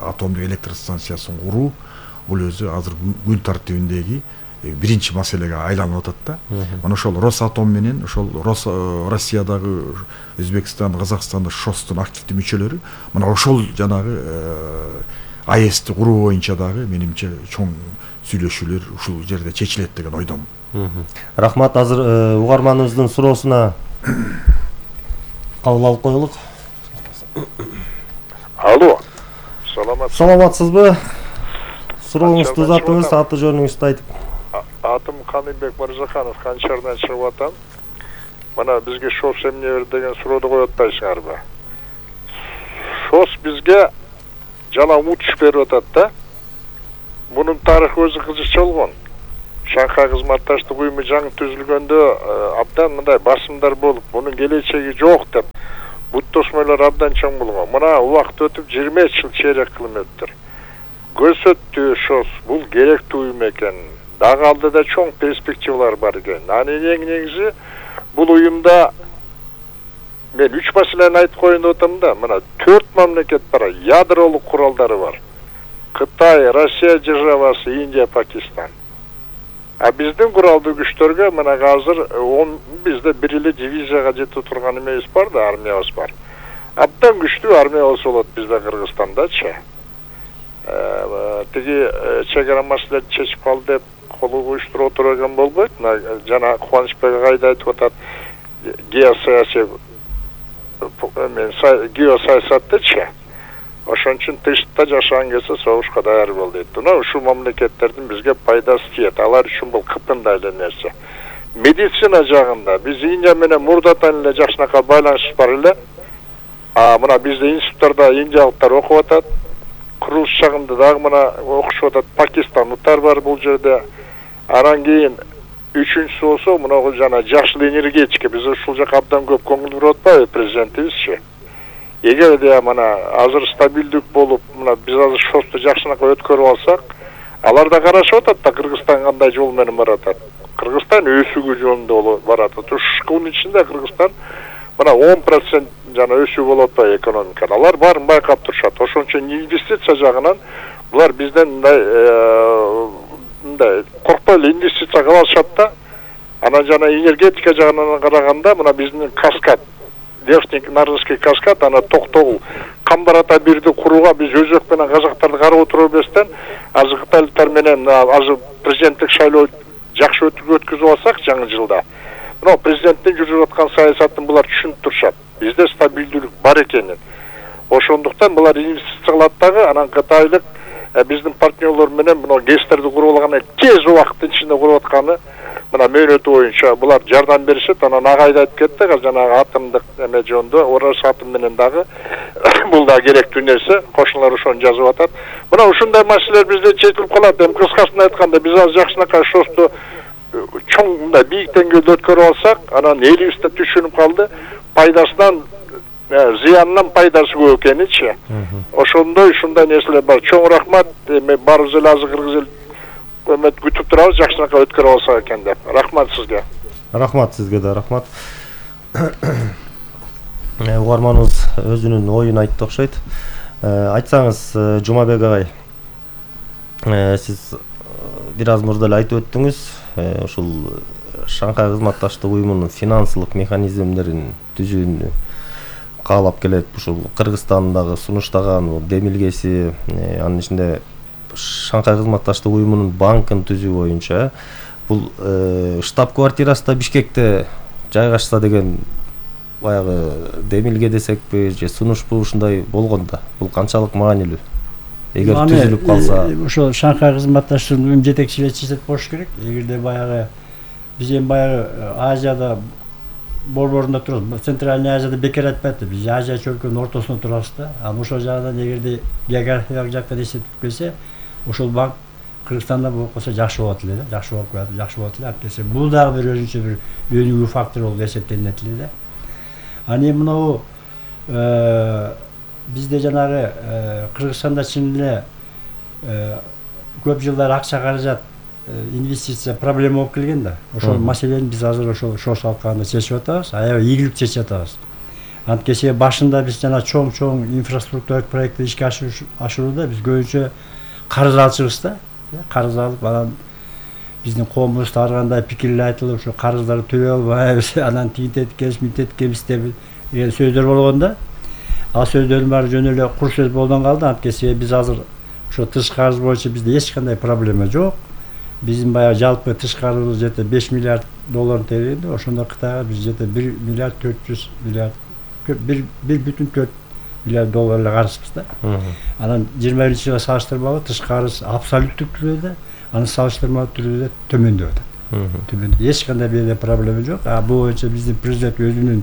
S4: атомдук электр станциясын куруу бул өзү азыр күн тартибиндеги биринчи маселеге айланып атат да. Мына ошол Росатом менен ошол Россиядагы, Өзбекстан, Казакстанда ШОСтун активдүү мүчөлөрү мына ошол жанагы АЭСти куруу боюнча дагы менимче чоң сүйлөшүүлөр ушул жерде чечилет деген ойдомун.
S1: Рахмат. Азыр угарманыбыздын суроосуна кабыл алып коелук.
S5: Алло. Саламатсызбы?
S1: Саламатсызбы? Сурооңузду узатыңыз, аты жөнүңүздү айтып.
S5: Атым Каныбек Мырзаханов, Канчардан чыгып атам. Мына бизге ШОС эмне бер деген суроону коюп атпайсыңарбы? ШОС бизге жана утуш берип атат да. Мунун тарыхы өзү кызыкча болгон. Шанхай кызматташтык уюму жаңы түзүлгөндө абдан мындай басымдар болуп, мунун келечеги жок деп бут тосмойлор абдан чоң болгон. Мына убакыт өтүп жыйырма беш жыл чейрек кылым өттүр. Көрсөттү ШОС бул керектүү уюм экен. Дагы алдыда чоң перспективалар бар экен. Анын эң негизи бул уюмда мен үч маселени айтып коеюн деп атам да. Мына төрт мамлекет бар, ядролук куралдары бар. Кытай, Россия державасы, Индия, Пакистан. А биздин куралдуу күчтөргө мына азыр он бизде бир эле дивизияга жетип турган эмебиз бар да, армиябыз бар. Абдан күчтүү армия болсо болот бизде Кыргызстандачы. Тиги чегара маселени чечип калды деп колу коюштуруп отурган болбойт. Жана Кубанычбек агай айтып атат, геосаясий мен геосаясаттычы. Ошон үчүн тышта жашаган келсе согушка даяр бол дейт. Мына ушул мамлекеттердин бизге пайдасы тиет. Алар үчүн бул кытындай эле нерсе. Медицина жагында биз Индия менен мурдатан эле жакшынакай байланышыбыз бар эле. А мына бизде институттарда индиялыктар окуп атат. Курулуш жагында дагы мына окушуп атат. Пакистанлыктар бар бул жерде. Анан кийин үчүнчүсү болсо мына жана жашыл энергетика. Биз ушул жака абдан көп көңүл буруп атпайбы президентибизчи? Эгер де мына азыр стабилдик болуп, мына биз азыр ШОСту жакшынакай өткөрүп алсак, алар да карашып атат да Кыргызстан кандай жол менен баратат. Кыргызстан өсүүгө жолунда баратат. Ушунун ичинде Кыргызстан мына он процент жана өсүү болуп атпайбы экономикада. Алар баарын байкап турушат. Ошон үчүн инвестиция жагынан булар бизден мындай мындай коркпой эле инвестиция кыла алышат да. Анан жана энергетика жагынан караганда мына биздин Каскад Верхний Нарвский каскад, ана токтогул Камбарата бирди курууга биз өзөк менен казактарды карап отуруп берсен, азыр кытайлыктар менен азыр президенттик шайлоо жакшы өткүзүп алсак жаңы жылда. Мына президенттин жүргүзүп аткан саясатын булар түшүнүп турушат. Бизде стабилдүүлүк бар экенин. Ошондуктан булар инвестиция кылат дагы, анан кытайлык биздин партнерлор менен мына ГЭСтерди куруп алган тез убакыттын ичинде куруп атканы мына мөөнөтү боюнча булар жардам беришет. Анан агай да айтып кетти, жанагы атомдук эме жөнүндө Орос атом менен дагы бул да керектүү нерсе. Кошуналар ошону жазып атат. Мына ушундай маселелер бизде чечилип калат. Эми кыскасын айтканда биз азыр жакшынакай ШОСту чоң мындай бийик деңгээлде өткөрүп алсак, анан элибиз да түшүнүп калды, пайдасынан зыянынан пайдасы көп экеничи. Ошондой ушундай нерселер бар. Чоң рахмат. Эми баарыбыз эле азыр кыргыз эл өмөт күтүп турабыз, жакшынакай өткөрүп алсак экен деп. Рахмат сизге.
S1: Рахмат сизге да, рахмат. Угарманыбыз өзүнүн оюн айтты окшойт. Айтсаңыз, Жумабек агай, сиз бир аз мурда эле айтып өттүңүз, ушул Шанхай кызматташтык уюмунун финансылык механизмдерин түзүүнү каалап келет. Ушул Кыргызстандагы сунуштаган демилгеси, анын ичинде Шанхай кызматташтык уюмунун банкын түзүү боюнча бул штаб-квартирасы да Бишкекте жайгашса деген баягы демилге десекпи же сунушпу ушундай болгон да. Бул канчалык маанилүү? Эгер түзүлүп калса,
S2: ошо Шанхай кызматташтык уюм жетекчилери болуш керек. Эгерде баягы биз эми баягы Азияда борборунда турабыз. Центральный Азияда бекер айтпайт. Биз Азия чөлкөнүнүн ортосунда турабыз да. Анан ошол жагынан эгерде географиялык жактан эсептеп келсе, ошол банк Кыргызстанда болуп калса жакшы болот эле да. Жакшы болуп калат, жакшы болот эле. Анткени бул дагы бир өзүнчө бир өнүгүү фактор болуп эсептелинет эле да. Аны мынау бизде жанагы Кыргызстанда чын эле көп жылдар акча каражат инвестиция проблема болуп келген да. Ошол маселени биз азыр ошол ШОС алкагында чечип атабыз, аябай ийгиликтүү чечип атабыз. Анткени башында биз жана чоң-чоң инфраструктуралык проектти ишке ашырууда биз көбүнчө карыз алчубуз да. Карыз алып, анан биздин коомубузда ар кандай пикирлер айтылып, ошо карыздарды төлөй албайбыз, анан тигинтетикебиз, мынтетикебиз деп сөздөр болгон да. Ал сөздөрдүн баары жөн эле кур сөз болдон калды. Анткени биз азыр ошо тышкы карыз боюнча бизде эч кандай проблема жок. Биздин баягы жалпы тышкы карызыбыз жете беш миллиард долларын тейлейди. Ошондо Кытайга биз жете бир миллиард төрт жүз миллиард бир бүтүн төрт миллиард доллар эле карызбыз да. Анан жыйырма биринчи жылга салыштырмалуу тышкы карыз абсолюттүк түрдө, аны салыштырмалуу түрдө төмөндөп атат. Төмөндөп. Эч кандай бир проблема жок. А бул боюнча биздин президент өзүнүн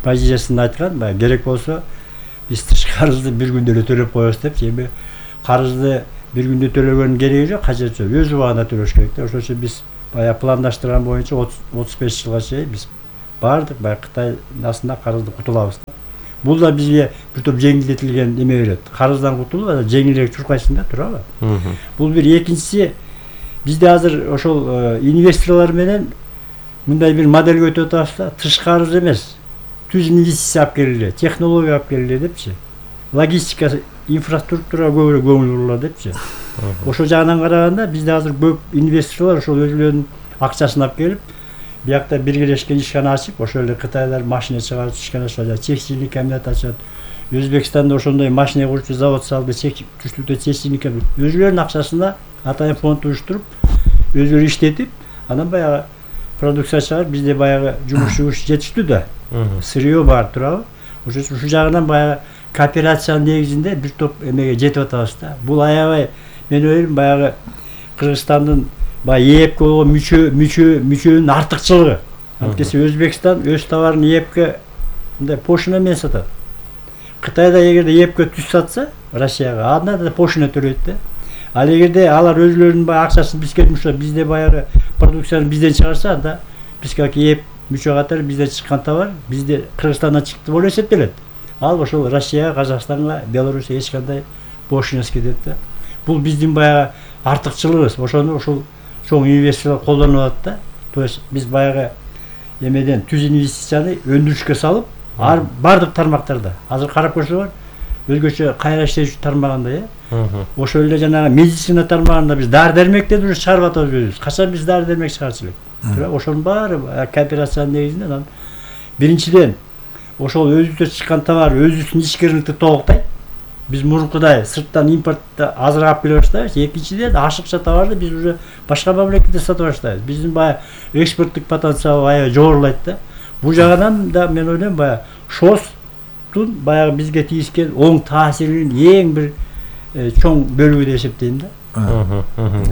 S2: позициясын айткан, баягы керек болсо биз тыш карызды бир күндө эле төлөп коебуз депчи. Эми карызды бир күндө төлөгөнүн кереги жок, кажети жок. Өз убагында төлөш керек да. Ошон үчүн биз баягы пландаштырган боюнча отуз беш жылга чейин биз баардык баягы Кытай насында карызды кутулабыз да. Бул да бизге бир топ жеңилдетилген эме берет. Карыздан кутулуп, анан жеңилирээк чуркайсың да, туурабы? Бул бир. Экинчиси, бизде азыр ошол инвесторлор менен мындай бир модель өтүп атабыз да. Тыш карыз эмес, түз инвестиция алып келгиле, технология алып келгиле депчи. Логистика, инфраструктурага көбүрөөк көңүл бурулат депчи. Ошол жагынан караганда бизде азыр көп инвесторлор ошол өзүлөрүнүн акчасын алып келип, биякта биргелешкен ишкана ачып, ошол эле Кытайлар машина чыгарып ишкана ачат, текстильный комбинат ачат. Өзбекстанда ошондой машина курчу завод салды, түштүктө текстильный комбинат. Өзүлөрүнүн акчасына атайын фонд уюштуруп, өзүлөрү иштетип, анан баягы продукция чыгарып, бизде баягы жумушчубуз жетиштүү да. Сырье бар, туурабы? Ошол үчүн ушул жагынан баягы кооперациянын негизинде бир топ эмеге жетип атабыз да. Бул аябай, мен ойлойм, баягы Кыргызстандын баягы ЭЭПке болгон мүчө мүчө мүчөнүн артыкчылыгы. Анткени Өзбекстан өз товарын ЭЭПке мындай пошина менен сатат. Кытайда эгерде ЭЭПке түз сатса, Россияга, анда да пошина төлөйт да. Ал эгерде алар өзүлөрүнүн баягы акчасын бизге жумшап, бизде баягы продукцияны бизден чыгарса, анда биз как ЭЭП мүчө катары бизден чыккан товар бизде Кыргызстандан чыкты болуп эсептелет. Ал ошол Россияга, Казакстанга, Белоруссияга эч кандай пошинасы кетет да. Бул биздин баягы артыкчылыгыбыз. Ошону ошол чоң инвесторлор колдонуп атат да. То есть биз баягы эмеден түз инвестицияны өндүрүшкө салып, бардык тармактарда. Азыр карап көрсөңөр, өзгөчө кайра иштеши тармагында, э. Ошол эле жанагы медицина тармагында биз дары-дармектерди уже чыгарып атабыз өзүбүз. Качан биз дары-дармек чыгарчу элек? Ошонун баары кооперациянын негизинде анан биринчиден ошол өзүбүздө чыккан товар өзүбүздүн ичкериликти толуктайт. Биз мурункудай сырттан импортты азыраак алып келе баштайбыз. Экинчиден ашыкча товарды биз уже башка мамлекетте сатып баштайбыз. Биздин баягы экспорттук потенциал аябай жогорулайт да. Бул жагынан да мен ойлойм, баягы ШОСтун баягы бизге тийишкен оң таасиринин эң бир чоң бөлүгү деп эсептейм да.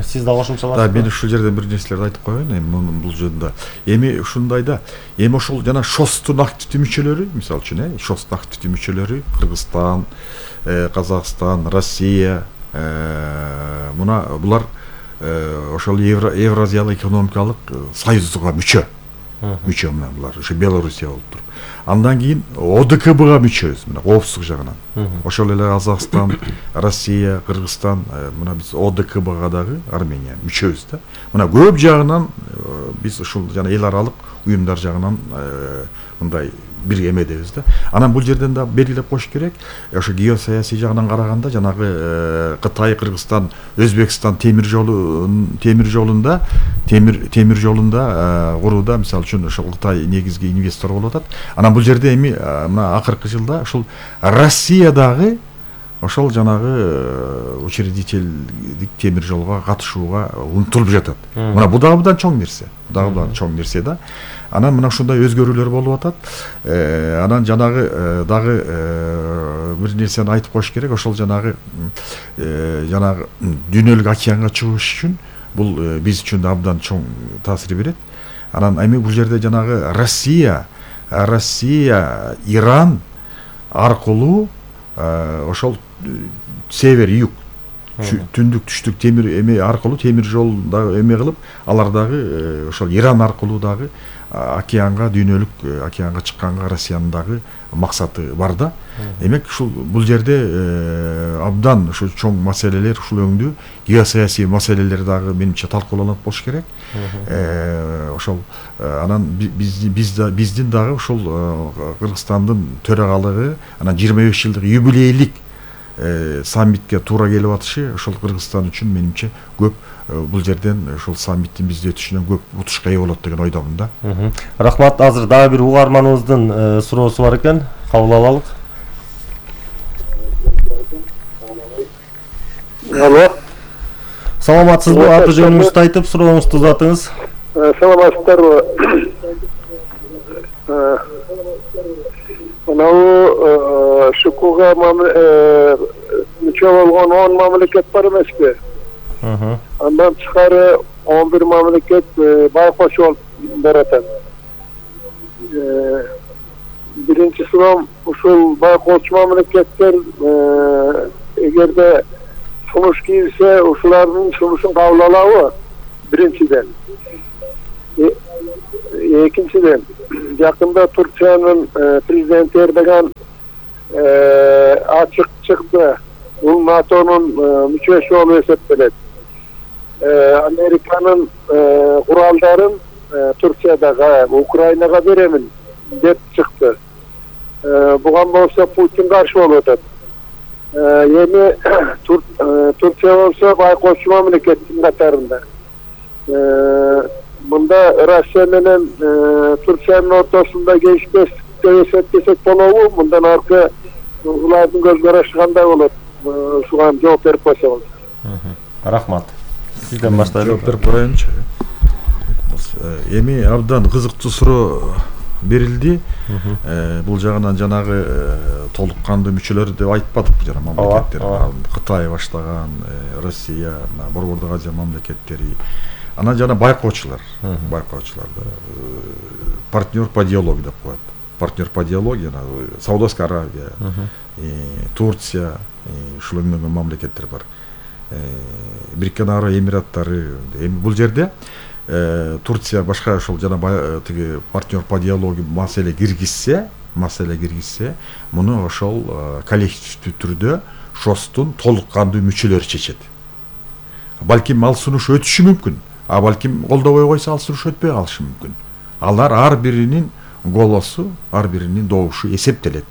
S1: Сиз да кошумчалап.
S4: Да, мен ушул жерден бир нерселерди айтып коеюн, эми бул жөнүндө. Эми ушундай да, эми ошол жана ШОСтун активдүү мүчөлөрү, мисалы үчүн, э, ШОСтун активдүү мүчөлөрү Кыргызстан, Казакстан, Россия, мына булар ошол Евразиялык экономикалык союзга мүчө. Мүчө мына булар, ошо Белоруссия болуп туруп. Андан кийин ОДКБга мүчөбүз, мына коопсуздук жагынан. Ошол эле Казакстан, Россия, Кыргызстан, мына биз ОДКБга дагы Армения мүчөбүз да. Мына көп жагынан биз ушул жана эл аралык уюмдар жагынан мындай бир эмедебиз да. Анан бул жерден да белгилеп коюш керек, ошо геосаясий жагынан караганда жанагы Кытай, Кыргызстан, Өзбекстан темир жолу темир жолунда темир темир жолунда курууда, мисалы үчүн ошол Кытай негизги инвестор болуп атат. Анан бул жерде эми мына акыркы жылда ушул Россиядагы ошол жанагы учредительдик темир жолго катышууга умтулуп жатат. Мына бул дагы мындан чоң нерсе. Дагы мындан чоң нерсе да. Анан мына ушундай өзгөрүүлөр болуп атат. Анан жанагы дагы бир нерсени айтып коюш керек. Ошол жанагы жанагы дүйнөлүк океанга чыгыш үчүн бул биз үчүн да абдан чоң таасир берет. Анан эми бул жерде жанагы Россия, Россия, Иран аркылуу ошол север, юг, түндүк, түштүк темир эме аркылуу темир жол дагы эме кылып, алар дагы ошол Иран аркылуу дагы океанга, дүйнөлүк океанга чыкканга Россиянын дагы максаты бар да. Демек ушул бул жерде абдан ошо чоң маселелер, ушул өңдүү геосаясий маселелер дагы менимче талкууланат болуш керек. Ошол анан биз биздин дагы ушул Кыргызстандын төрагалыгы анан жыйырма беш жылдык юбилейлик саммитке туура келип атышы ошол Кыргызстан үчүн менимче көп бул жерден ушул саммиттин бизде өтүшүнөн көп утушка ээ болот деген ойдомун да.
S1: Рахмат. Азыр дагы бир угарманыбыздын суроосу бар экен. Кабыл алалык.
S5: Алло.
S1: Саламатсызбы? Аты жөнүңүздү айтып, сурооңузду узатыңыз.
S5: Саламатсыздарбы? Мынау ШУКуга мүчө болгон он мамлекет бар эмеспи? Андан тышкары он бир мамлекет байкоч болуп баратат. биринчи сурам ушул байкоочу мамлекеттер эгерде сунуш кийилсе ушулардын сунушун кабыл алабы? Биринчиден. Экинчиден, жакында Турциянын президенти Эрдоган ачык чыкты. Бул НАТОнун мүчөсү болуп эсептелет. Американын куралдарын Турциядагы Украинага беремин деп чыкты. Буга болсо Путин каршы болуп атат. Эми Турция болсо байкоочу мамлекеттин катарында. Мында Россия менен Турциянын ортосунда келишпестик деп эсептесек болобу? Мындан аркы улардын көз карашы кандай болот? Ушуга жооп берип койсоңуз.
S1: Рахмат. Сизден баштайлы.
S4: Жооп берип коеюнчу. Эми абдан кызыктуу суроо берилди. Бул жагынан жанагы толук кандуу мүчөлөр деп айтпадык жана мамлекеттер. Кытай баштаган, Россия, Борбордук Азия мамлекеттери. Анан жана байкоочулар, байкоочуларда партнер по диалогу деп коет. Партнер по диалогу жана Саудовская Аравия, Турция, ушул эмнеге мамлекеттер бар. Бириккен Араб Эмираттары. Эми бул жерде Турция башка ошол жана тиги партнер по диалогу маселе киргизсе, маселе киргизсе, муну ошол коллективдүү түрдө шостун толук кандуу мүчөлөрү чечет. Балким ал сунуш өтүшү мүмкүн, а балким колдобой койсо ал сунуш өтпөй калышы мүмкүн. Алар ар биринин голосу, ар биринин добушу эсептелет.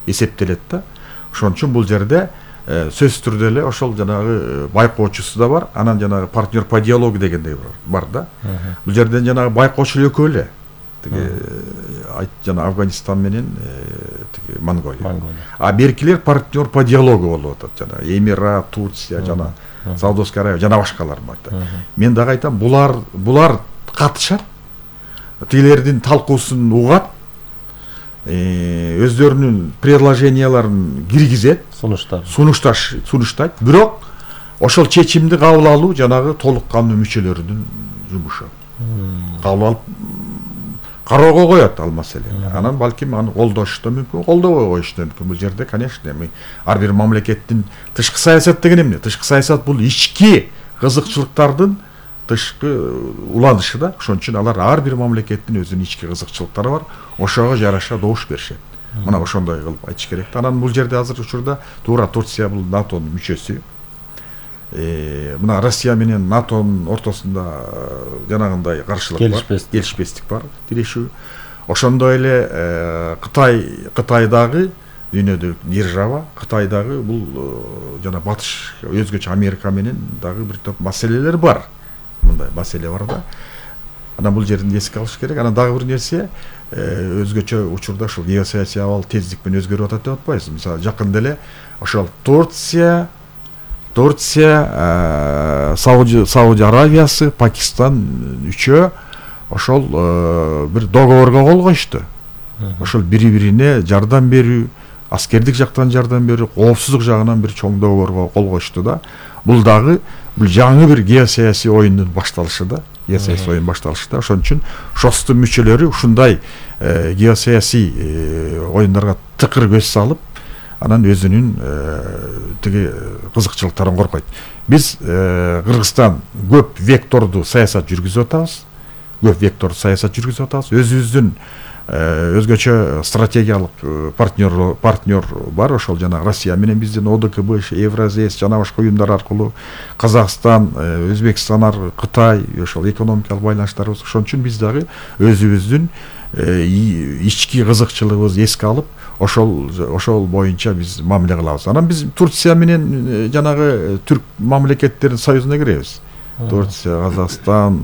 S4: Эсептелет да. Ошон үчүн бул жерде сөз түрдө эле ошол жанагы байкоочусу да бар, анан жанагы партнер по диалогу дегендей бар да. Бул жерден жанагы байкоочу экөө эле. Тиги айт жана Афганистан менен тиги Монголия. А беркилер партнер по диалогу болуп атат. Жана Эмират, Турция, жана Саудовская Аравия, жана башкалар бар. Мен дагы айтам, булар булар катышат. Тилердин талкуусун угат. Өздөрүнүн предложенияларын киргизет, сунуштар. Сунушташ, сунуштайт. Бирок ошол чечимди кабыл алуу жанагы толук кандуу мүчөлөрүнүн жумушу. Кабыл алып кароого коет ал маселени. Анан балким аны колдош да мүмкүн, колдобой коюш да мүмкүн. Бул жерде, конечно, эми ар бир мамлекеттин тышкы саясат деген эмне? Тышкы саясат бул ички кызыкчылыктардын тышкы уланышы да. Ошон үчүн алар ар бир мамлекеттин өзүнүн ички кызыкчылыктары бар. Ошого жараша добуш беришет. Мына ошондой кылып айтыш керек. Анан бул жерде азыр учурда туура Турция бул НАТОнун мүчөсү. Мына Россия менен НАТОнун ортосунда жанагындай каршылык бар, келишпестик бар, тирешүү. Ошондой эле Кытай, Кытайдагы дүйнөдөгү держава, Кытайдагы бул жана батыш өзгөчө Америка менен дагы бир топ маселелер бар. Мындай маселе бар да. Анан бул жерден эске алыш керек. Анан дагы бир нерсе, өзгөчө учурда ушул геосаясий абал тездик менен өзгөрүп атат деп атпайсыз. Мисалы, жакында эле ошол Турция, Турция, Сауди Аравиясы, Пакистан үчөө ошол бир договорго кол коюшту. Ошол бири-бирине жардам берүү, аскердик жактан жардам берүү, коопсуздук жагынан бир чоң договорго кол коюшту да. Бул дагы бул жаңы бир геосаясий оюндун башталышы да. Геосаясий оюн башталышы да. Ошон үчүн шостун мүчөлөрү ушундай геосаясий оюндарга тыкыр көз салып, анан өзүнүн тиги кызыкчылыктарын коркойт. Биз Кыргызстан көп вектордуу саясат жүргүзүп атабыз. Көп вектордуу саясат жүргүзүп атабыз. Өзүбүздүн өзгөчө стратегиялык партнер партнер бар, ошол жана Россия менен биздин О Д К Б, Евразес жана башка уюмдар аркылуу Казакстан, Өзбекстан, Кытай ошол экономикалык байланыштарыбыз. Ошон үчүн биз дагы өзүбүздүн ички кызыкчылыгыбызды эске алып, ошол ошол боюнча биз мамиле кылабыз. Анан биз Турция менен жанагы түрк мамлекеттеринин союзуна киребиз. Турция, Казакстан,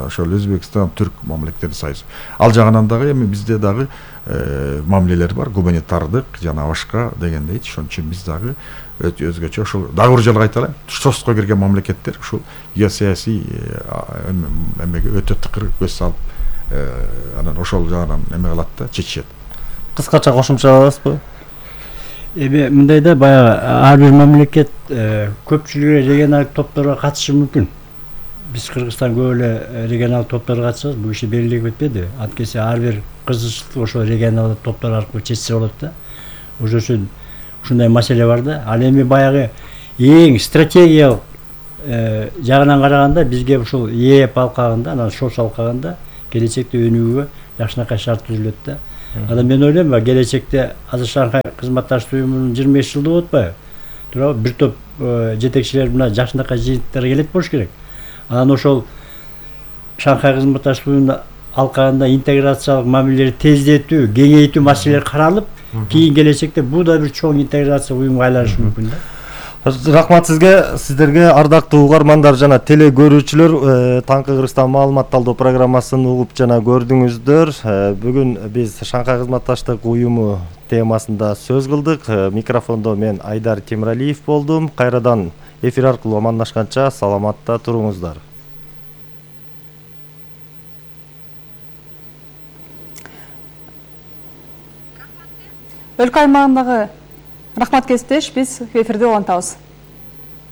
S4: ошол Өзбекстан, түрк мамлекеттеринин союзу. Ал жагынан дагы эми бизде дагы мамилелер бар, гуманитардык жана башка дегендей. Ошон үчүн биз дагы өзгөчө ошол дагы бир жолу айталайм, шостко кирген мамлекеттер ушул геосаясий эмеге өтө тыкыр көз салып, анан ошол жагынан эме кылат да, чечишет.
S1: Кыскача кошумча аласызбы?
S2: Эми мындай да, баягы ар бир мамлекет көпчүлүгү регионалдык топторго катышы мүмкүн. биз Кыргызстан көп эле регионалдык топторго катышабыз, бул иши белгилеп кетпеди. Анткени ар бир кызыкчылык ошо регионалдык топтор аркылуу чечсе болот да. Ошон үчүн ушундай маселе бар да. Ал эми баягы эң стратегиялык жагынан караганда бизге ушул ЕЭП алкагында, анан ШОС алкагында келечекте өнүгүүгө жакшынакай шарт түзүлөт да. Анан мен ойлойм, келечекте азыр Шанхай кызматташтык уюмунун жыйырма беш жылдыгы отпайбы? Туурабы? Бир топ жетекчилер мына жакшынакай жыйынтыктарга келет болуш керек. Анан ошол Шанхай кызматташтык уюмунун алкагында интеграциялык мамилелерди тездетүү, кеңейтүү маселелери каралып, кийин келечекте бул да бир чоң интеграция уюмга айланышы мүмкүн да.
S1: Рахмат сизге, сиздерге ардактуу угармандар жана теле көрүүчүлөр, Таңкы Кыргызстан маалымат талдоо программасын угуп жана көрдүңүздөр. Бүгүн биз Шанхай кызматташтык уюму темасында сөз кылдык. Микрофондо мен Айдар Темиралиев болдум. Кайрадан эфир аркылуу амандашканча саламатта туруңуздар.
S6: Өлкө аймагындагы рахмат кесиптеш, биз эфирде улантабыз.